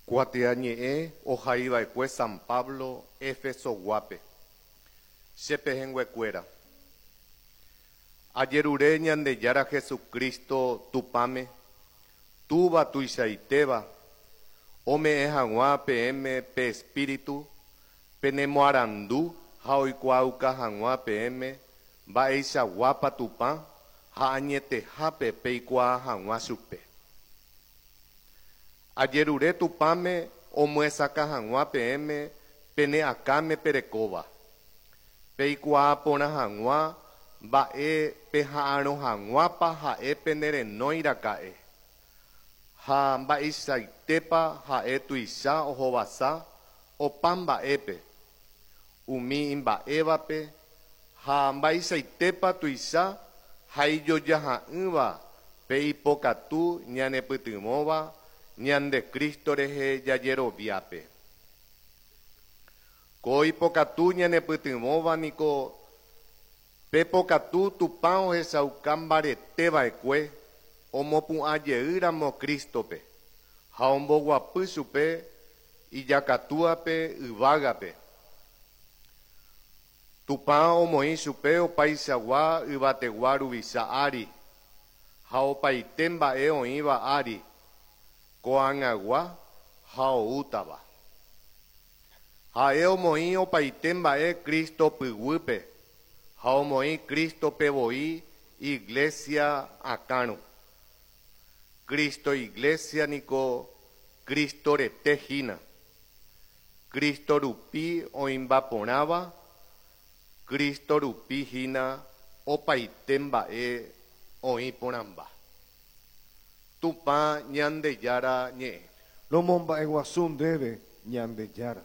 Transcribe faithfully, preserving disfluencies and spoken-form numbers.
Kuatiañe'ẽ ohaiva'ekue San Pablo Efesoguápe. Che pehẽnguekuéra. Ajerure Ñandejára Jesucristo Tupãme, Túva tuichaitéva, ome'ẽ hag̃ua peẽme pe Espíritu penemoarandu ha oikuaauka hag̃ua peẽme mba'eichaguápa Tupã ha añetehápe peikuaa hag̃ua chupe. Ajerure Tupãme omyesakã hag̃ua peẽme pene akãme perekóva, peikuaa porã hag̃ua mba'e peha'arõ hag̃uápa ha'e penerenói raka'e, ha mba'eichaitépa ha'e tuicha ohovasa opa mba'épe umi imba'évape ha mba'eichaitépa tuicha ha ijojaha'ỹva pe ipokatu ñanepytyvõva ñande Cristo rehe jajeroviápe. Ko ipokatu ñanepytyvõva niko pe pokatu Tupã ohechauka mbareteva'ekue omopu'ãjeýramo Crístope ha omboguapy chupe ijakatúape yvágape. Tupã omoĩ chupe opaichagua yvategua ruvicha ári ha opaite mba'e oĩva ári, ko'ag̃agua ha oútava. Ha'e omoĩ opaite mba'e Cristo pyguýpe ha omoĩ Crístope voi Iglesia akãrõ. Cristo Iglesia niko Cristo rete hína. Cristo rupi oĩmba porãva, Cristo rupi hína opaite mba'e oĩ porãmba. Tupã Ñandejára ñe'ẽ. Romomba'eguasu ndéve Ñandejára.